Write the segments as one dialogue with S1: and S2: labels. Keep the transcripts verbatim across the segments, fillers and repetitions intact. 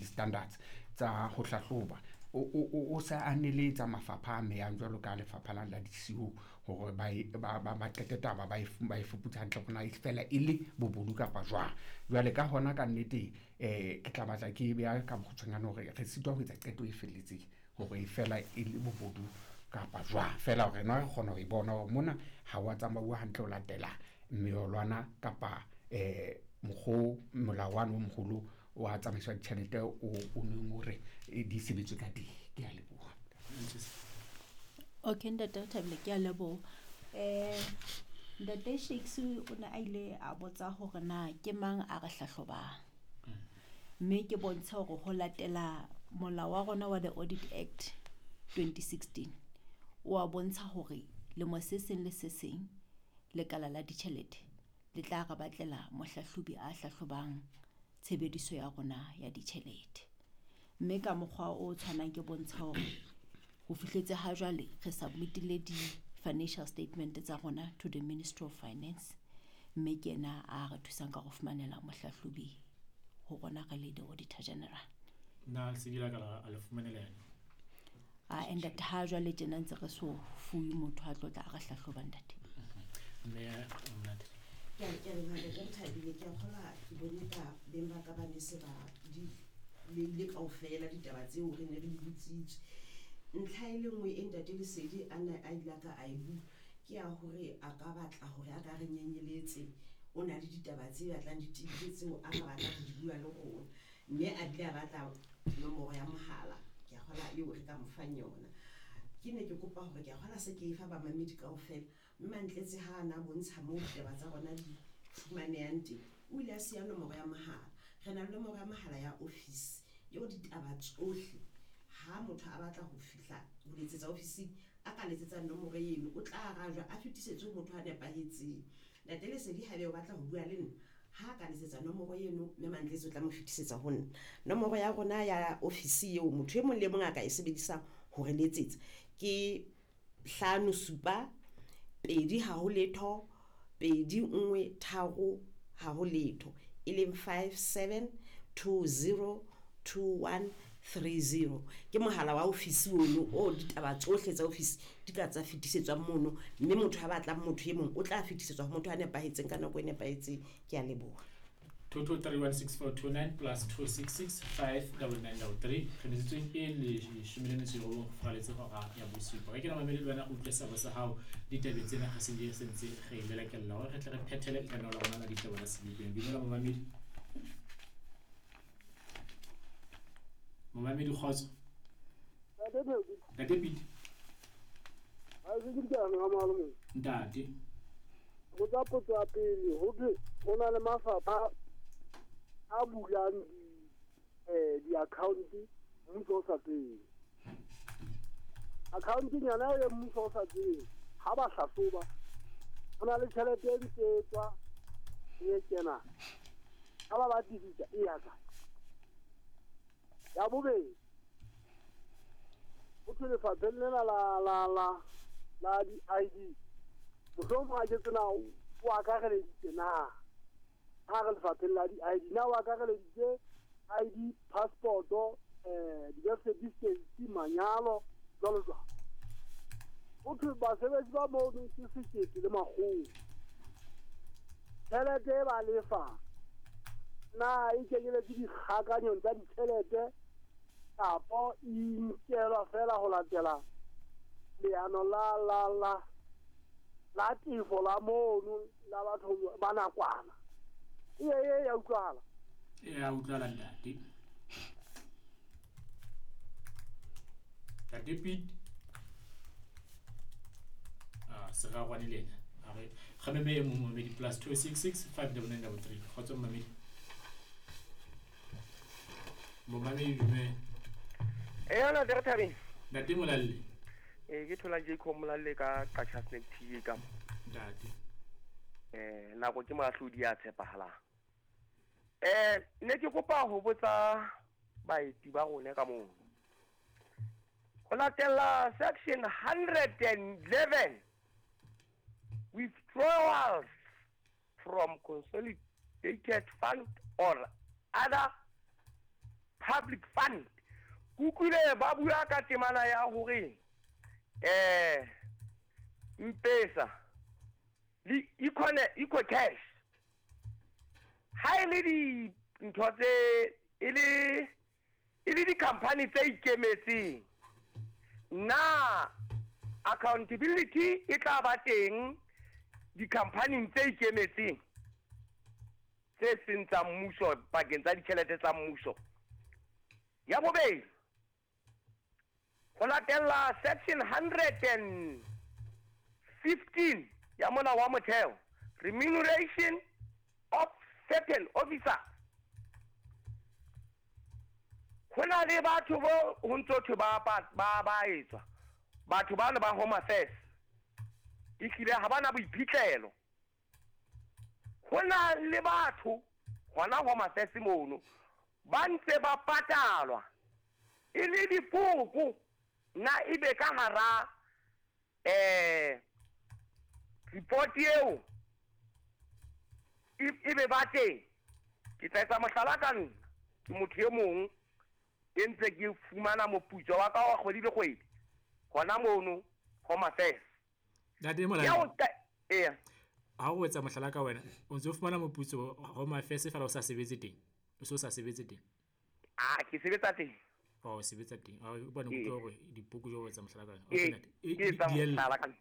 S1: di-standards tsa ho hlahloba o, o, o, o sa aneletsa mafapha a meyang jwalo ka lefapha la la di-C O hore ba e- ba ba ba qete taba ba e fu- ba e fuputse hantle hore na e fela e le bobodu kapa jwang. Jwale ka hona ka nnete um ke tla batla ke beha ka bokgutshwanyane hore re sitwa ho etsa qeto e felletseng hore e fela e le bobodu kapa jwang, fela hore na re kgona ho e bona hore mona ha wa tsamauwa hantle ho latela meolwana kapa um mokgo molao wane o moholo wa tsamaiso ya ditjhelete o o neng o re eh, di sebetswe ka teng. Ke a leboha.
S2: Okay, ntate Thabile, ke a leboha. um ntate Shakes o ne a ile a botsa hore na ke mang a re hlahlobang, mme ke bontshe hore ho latela molao wa rona wa the Audit Act twenty sixteen o a bontsha hore lemo se seng le se seng lekala la ditjhelete le tla re batlela mohlahlobi a hlahlobang tshebediso ya rona ya ditjhelete. Mme ka mokgwa o tshwanang ke bontsha hore ho fihletse ha jwale re submitile di-financial statement tsa rona to the Ministry of Finance, mme ke ena a re thusang ka go fumanela mohlahlobi ho rona re le the Auditor General.
S3: Na lesedi la ka la- a le fumanela yena?
S2: A ntate, ha jwale tjena ntse re so fuwe motho a tlo tla a re hlahloba, ntate.
S3: Mme Monate.
S4: Ke a ke a leboha, ntate Thabile. Ke a kgolwa ke bone ka beng ba ka ba ne se ba di beile kaofela ditaba tseo re ne re di botsitswe. Ntlha e le nngwe e ntate Lesedi a ne a ile a ka a e bua ke ya hore a ka batla hore a ka re nyenyeletse, o na le ditaba tse batlang di tebile tseo a ka batlang ho di bua le rona, mme a bile a batla nomoro ya mohala. Ke a kgolwa eo re ka mo fang yona. Ke ne ke kopa hore, ke a kgolwa se ke e fa bamamedi kaofela, mme Mantletse ha a na bontsha moo ditaba tsa rona di fumanehang teng, o ile a siya nomoro ya mohala. Re na le nomoro ya mohala ya office eo ditaba tsohle ha motho a batla ho fihla ho letsetsa ofising, a ka letsetsa nomoro eno, o tla arajwa, a fetisetswe ho motho a nepahetseng. Ntate Lesedi haebe o batla ho bua le nna, ha ka letsetsa nomoro eno, mme Mantletse o tla mo fetisetsa ho nna. Nomoro ya rona ya ofisi eo motho e mong le mong a ka e sebedisang ho re letsetsa ke hlano supa pedi haho letho pedi nngwe tharo haho letho, e leng five seven two zero two one three zero. Ke mohala wa ofisi ono o ditaba tsohle tsa ofisi di ka tsa fetisetswang mono, mme motho a batlang motho e mong o tla fetisetswa ho motho a nepahetseng ka nako e nepahetseng. Ke a leboha.
S3: Two two three one six four two nine plus two six six five double nine double three. Re metsotsong e leshome le metso e robong go faraletse hora ya bosupa. Re kena mamedi le wena o utlwe seabo sa hao ditabeng tsena re se di sentse re lelekella hore re tle re phethele lenaneo la rona la ditaba la sebopeng. Dumela momamedi. Momamedi, kgotso.
S5: Ntate Pheko.
S3: Ntate Pete.
S5: Ha se ke dikano ha malome.
S3: Ntate.
S5: Go tsa potso ya pele, ho thwe ho na le mafapha a bulang di eh di-account mmuso o sa tsebe. Account nyana eo mmuso o sa tsebe, ha ba hlahloba ho na le tjhelete e ntse e tswa e kena. Ha ba batlisisa e ya kae? Ya bobedi, ho thwe lefapheng lena la la la la di-I D, mohlomong ha ke tsena o akareleditse na, ha re lefapheng la di-I D na o akareleditse I D, passport, eh di-birth certificate, manyalo, jwalo jwalo. Ho thwe basebetsi ba mono ke sekete le makgolo. Tjhelete e ba lefang na e kenyeletse dikgakanyong tsa ditjhelete kapo e nkelwa fela ho latela leano la la la la tefo la mono la batho ba nakwana? E e ya utlwahala.
S3: E a utlwahala, ntate. Ntate Pete. Ah, serarwane le ena. A re kgameme e mong momamedi plus two six six five double nine double three. Kgotso momamedi. Momamedi, dumela.
S6: Eh ntate re thabeng.
S3: Ntate Molalle.
S6: Eh ke thola Jacob Molalle ka Qacha Snack T V ka mo.
S3: Ntate.
S6: Eh nako ke moahlodi ya tshepahalang. Eh ne ke kopa ho botsa baeti ba rona ka moo. Ho latela section one hundred eleven, withdrawals from consolidated fund or other public fund. Ke utlwile ba bua ka temana ya hore eh M-Pesa le Eco Cash ha e le dintho tse e le e le di-company tse ikemetseng, na accountability e tla ba teng di-company tse ikemetseng tse seng tsa mmuso pakeng tsa ditjhelete tsa mmuso? Ya bobedi, ho latella section hundred and fifteen ya molao wa motheo, remuneration of certain officers, ho na le batho bo ho ntso thwe ba ba ba etswa batho bana ba Home Affairs ehlile ha bana boiphihlelo. Ho na le batho hona Home Affairs mono ba ntse ba patalwa e le dipoko, na ebe ka hara eh report eo ebe ba teng. Ke tla etsa mohlala ka nna, ke motho e mong e ntse ke fumana moputso wa ka wa kgwedi le kgwedi hona mono Home Affairs.
S3: Ntate Molao,
S6: eh
S3: ha o etsa mohlala ka wena o ntse o fumana moputso Home Affairs fela o sa sebetse teng, o se o sa sebetse teng?
S6: Ah, ke sebetsa teng.
S3: Oh, o sebetsa teng. Ah, o bona o hore dipoko jo o etsa mohlala ka wena.
S6: Okay, ntate. E etsa mohlala ka nna.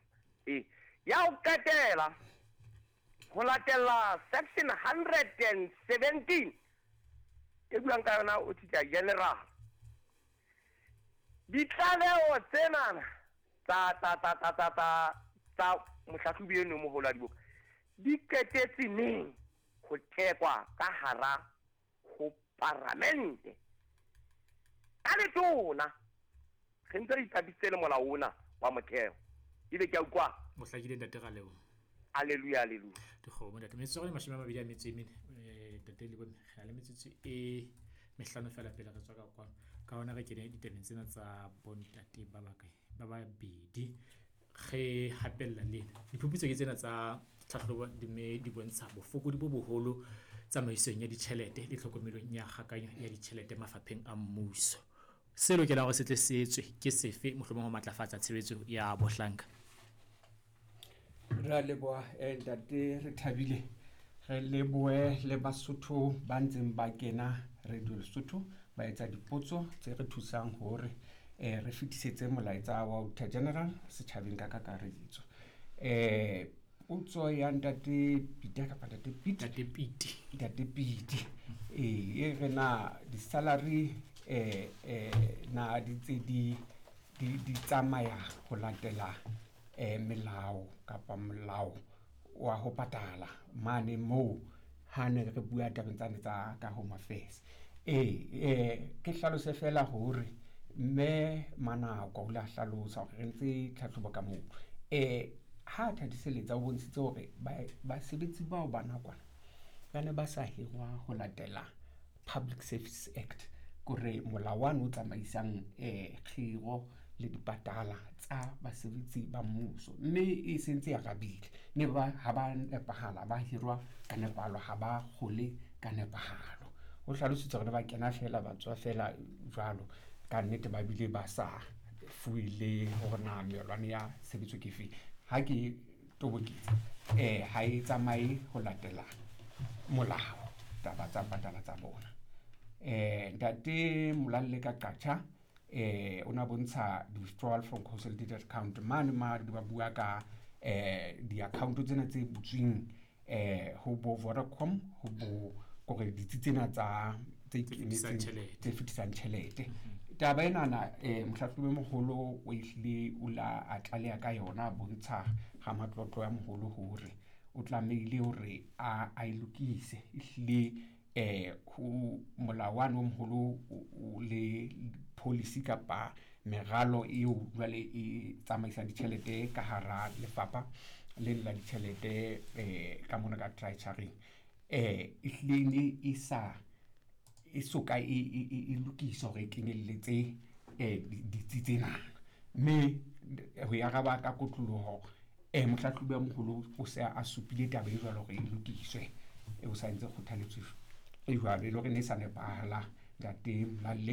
S6: Eh, ya o qetela ho latela section hundred and seventeen e buang ka yona Auditor General. Ditlaleho tsena tsa tsa tsa tsa tsa tsa tsa mohlahlobi eno moholo wa dibuka di qetetse neng ho thekwa ka hara ho paramente ka letona? Re ntse re ipapisitse le molao ona wa motheo. Ebe ke a utlwa
S3: mohlakile ntate Raleo.
S6: Hallelujah, hallelujah.
S3: Dikgomo ntate, metsotso e mashome a mabedi a metso e mene ntate le bone re na le metsotso e mehlano fela pele re tswa ka kwano. Ka hona re kene ditabeng tsena tsa bontate ba bakae ba babedi re hapella lena. Diphuputso ke tsena tsa tlhahlobo di mme di bontsha bofokodi bo boholo tsamaisong ya ditjhelete le tlhokomelong ya kgakanyo ya ditjhelete mafapheng a mmuso. Se lokelang hore se tle se etswe ke sefe mohlomong ho matlafatsa tshebetso ya bohlanka?
S1: Re a leboha ntate, re thabile. Re lebohe le Basotho ba ntseng ba kena Radio Lesotho ba etsa dipotso tse re thusang hore eh re fetisetse molaetsa wa Auditor General setjhabeng ka kakaretso. Eh potso ya ntate Peter kapa ntate Pete,
S3: ntate Pete,
S1: ntate Pete eh e re na di-salary eh eh na di tse di di di tsamaya ho latela eh melao kapa molao wa ho patala mane moo ha ne re bua tabeng tsane tsa ka Home Affairs. Eh eh ke hlalose fela hore mme Manako o la hlalosa hore re ntse tlhahlobo ka moo. Eh ha thadiseletsa o bontshitse hore basebetsi bao ba nakwana ba ne ba sa hirwa ho latela Public Service Act, kore molao wa no tsamaisang eh kgiro le dipatala tsa basebetsi ba mmuso, mme e sentse ya rabile ne ba ha ba nepahala ba hirwa ka nepahalo, ha ba kgole ka nepahalo. O hlalositse hore ba kena fela ba tswa fela jwalo, ka nnete ba bile ba sa fuwe le hore na melwane ya sebetso ke efe. Ha ke tobokitse eh ha e tsamaye ho latela molao taba tsa patala tsa bona. Eh ntate Molalle ka Qacha eh o na bontsha withdrawal from consolidated account mane ma ba bua ka eh di-account tsena tse butsweng eh ho bo Vodacom ho bo kore ditsi tsena tsa tse ikemetseng tse fetisang tjhelete. Taba ena na eh mohlahlobi moholo o ehlile o la a tlaleha ka yona, bontsha ga matlotlo ya moholo hore o tlamehile hore a a e lokise ehlile eh ho molao wa no moholo o le policy kapa meralo eo jwale e tsamaisa ditjhelete ka hara lefapha le la ditjhelete eh ka mona ka treasury eh ehlile ne e sa e soka e e lokisa hore e kenyelletse eh ditsi tsena, mme ho ya araba ka kotloloho eh mohlahlobi wa moholo o se a supile taba e jwalo hore e lokiswe, e o sa ntse kgothaletso e jwalo e le hore ne e sa nepahala Ntate Molalle.